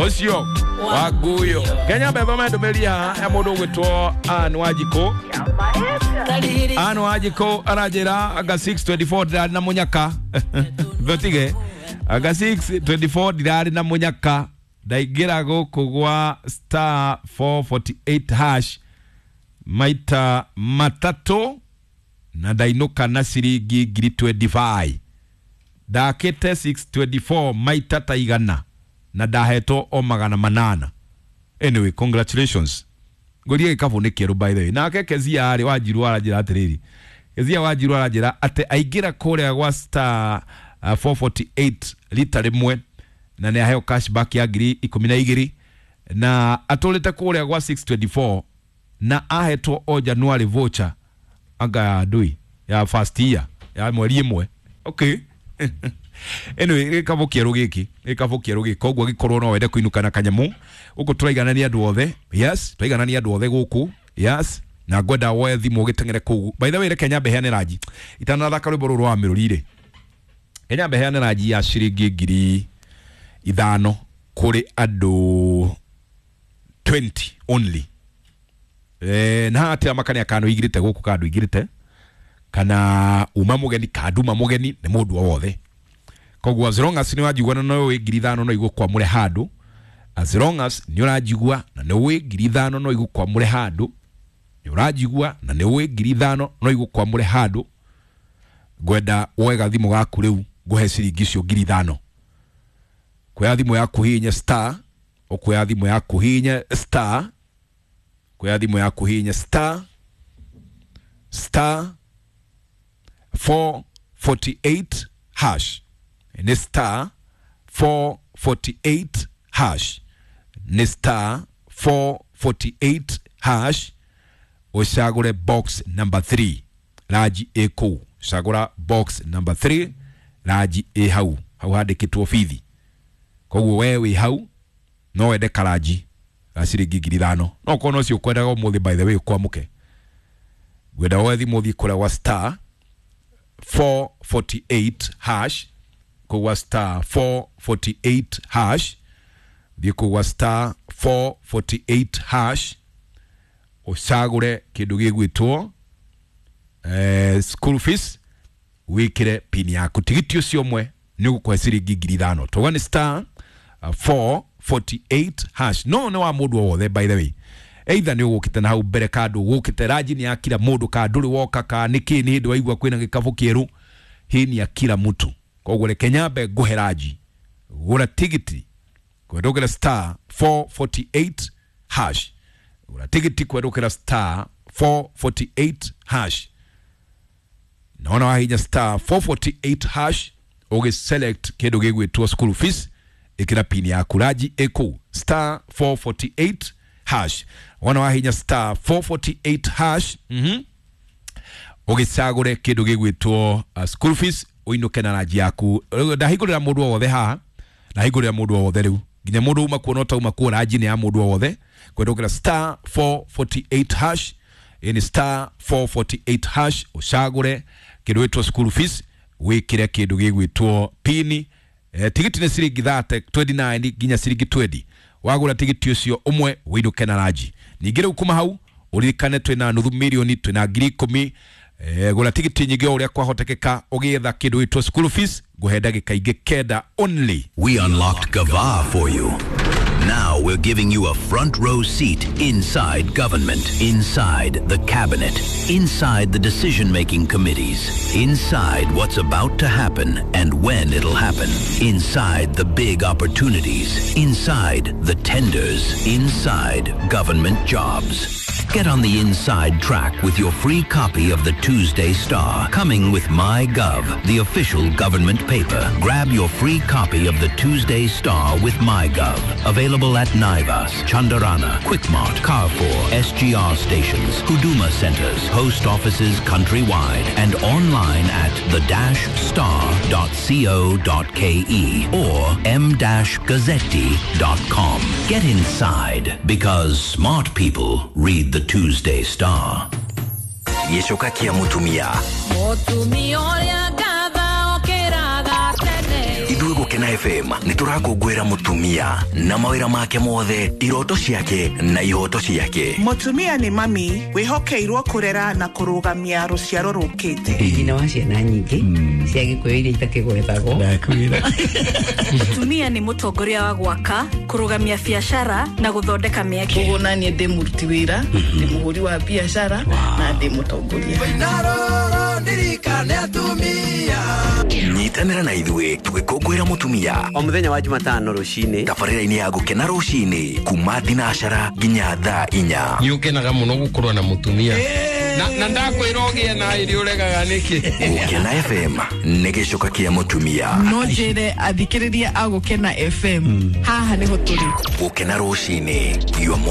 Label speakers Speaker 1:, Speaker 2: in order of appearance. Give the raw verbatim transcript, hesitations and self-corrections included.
Speaker 1: Ucio waguyo Kenya mbetho mendumiria ya mundu ugwitwo Ann Wanjikũ. Ann Wanjikũ aranjira anga six twenty-four ndirari na munyaka. Thotige anga six twenty-four ndirari na munyaka ndaingira guku gwa star four forty-eight hash maita matatu na ndainuka na ciringi ngiri twenty-five. Ndakite six twenty-four maita ta igana na ndahetwo o magana manana. Anyway, congratulations. Ngorie gikabu ni kieru by the way. Nake Kezia ari Wanjiru aranjira atiriri. Kezia Wanjiru aranjira ate aingira kuria gwa star uh, four forty-eight lita rimwe na ni aheo cashback ya ngiri ikumi na igiri na atulite kuria gwa six twenty-four na ahetwo o January voucher anga ya ndui ya first year ya mweri imwe. Okay. Anyway, gikabu kieru giki gikabu kieru giki koguo gikorwo no wende kuinuka na kanyamu guku turaiganania andu othe. Yes, turaiganania andu othe guku. Yes, na ngwenda woe thimu gitengere kuu. By the way, reke nyambe heane ranji itanathaka rwimbo ruru rwa miruri. Kenya nyambe heane ranji ya ciringi ngiri ithano kuri andu twenty only. Eh, na atia makania kanu igirite guku kandu igirite kana uma mugeni kanduma mugeni ni mundu o wothe. Koguo as long as ni wajigua na no wi ngiri ithano no igukwamure handu, as long as ni urajigua na ni wi ngiri ithano no igukwamure handu, ni urajigua na ni wi ngiri ithano no igukwamure handu, ngwenda woe gathimu gaku riu nguhe ciringi icio ngiri ithano. Kuoya thimu yaku hihinye star, ukuoya thimu yaku hihinye star, kuoya thimu yaku hihinye star star four forty-eight hash. Ni star four forty-eight hash. Ni star four forty-eight hash. Ucagure box number three. Raji eko. Cagura box number three. Raji e hau. Hau handikitwo bithi. Koguo we wi hau no wende karaji ga ciringi ngiri ithano. No korwo no cio ukwendaga umuthi by the way ukwamuke. Ngwenda woe thimu ũthiĩ kũrĩa gwa star four forty-eight hash. Kugwa star four forty-eight hash. Thiĩ kugwa star four forty-eight hash. Ucagure kindu gigwitwo eh, school fees, wikire pin yaku. Tigiti ucio mwe ni ugukuhe ciringi ngiri ithano. Tuga ni star uh, four forty-eight hash. No ni wa mundu o wothe by the way. Either ni ugukite na hau mbere kandu ugukite ranji ni ya kila mundu ka nduri woka ka niki ni hindi waigua kwina gikabu kieru. Hii ni ya kila mtu. Koguo reke nyambe nguhe ranji. Gura tigiti kwendukira star four forty-eight hash. Gura tigiti kwendukira star four forty-eight hash. Naona wahinya star four forty-eight hash ugi select kindu gigwitwo school fees, ikira pin yaku ranji eko star four forty-eight hash. Wana wahinya star four forty-eight hash. Mhm. Ugicagure kindu gigwitwo uh, school fees uinuke na ranji yaku. Ndahingurira mundu o wothe haha, ndahingurira mundu o wothe riu nginya mundu uma kuona utauma kuo ranji ni ya mundu o wothe kwendukira star four forty-eight hash. Ini star four forty-eight hash ucagure kindu gitwo school fees, wikire kindu gigwitwo pini. Eh, tigiti ni ciringi thirty twenty-nine nginya ciringi twenty. Wagura tigiti ucio umwe winuke na ranji. Ningĩ rĩu kuma hau uririkane twina nuthu milioni twina ngiri ikumi. Eh, gura tigiti nyingĩ o ũrĩa kwahotekeka ũgĩetha kĩndũ gĩtwo school fees nguhe ndagĩka ingĩ kenda only.
Speaker 2: We unlocked Gava for you. Now we're giving you a front row seat inside government, inside the cabinet, inside the decision-making committees, inside what's about to happen and when it'll happen, inside the big opportunities, inside the tenders, inside government jobs. Get on the inside track with your free copy of the Tuesday Star, coming with MyGov, the official government paper. Grab your free copy of the Tuesday Star with MyGov. Available at Naivas, Chandarana, Quickmart, Carrefour, S G R stations, Huduma centers, post offices countrywide, and online at the dash star dot co dot ke or m dash gazzetti dot com. Get inside, because smart people read the Tuesday Star.
Speaker 3: Gĩcoka kĩa mũtumia.
Speaker 4: Mũtumia ũrĩa ngatha okĩraga tene.
Speaker 3: Ithuĩ Gũkena F M nĩ tũrakũngũĩra mũtumia na mawĩra make mothe, iroto ciake na ihoto ciake.
Speaker 4: Mũtumia nĩ mami wĩhokeirwo kũrera na kũrũgamia rũciaro rũkĩte.
Speaker 5: Nyina wa ciana nyingĩ cia Gĩkũyũ iria itakĩgwetagwo.
Speaker 6: Mũtumia nĩ mũtongoria wa gwaka, kũrũgamia biacara na gũthondeka mĩeke.
Speaker 7: Ũguo naniĩ ndĩ mũruti wĩra, ndĩ mũhũri wa biacara na ndĩ mũtongoria.
Speaker 3: Nyitanĩra na ithuĩ tũgĩkũngũĩra mũtumia
Speaker 8: o mũthenya wa Jumatano rũcinĩ
Speaker 3: tabarĩra-inĩ ya Gũkena rũcinĩ kuma thinacara nginya thaa inya.
Speaker 9: Nĩ ũkenaga mũno gũkorwo na mũtumia na na ndakwĩra ũgĩe na irio ũregaga nĩkĩ.
Speaker 3: Gũkena F M nĩ gĩcoka kĩa mũtumia.
Speaker 7: No njĩre athikĩrĩria a Gũkena F M haha nĩho tũrĩ.
Speaker 3: Gũkena rũcinĩ, your morning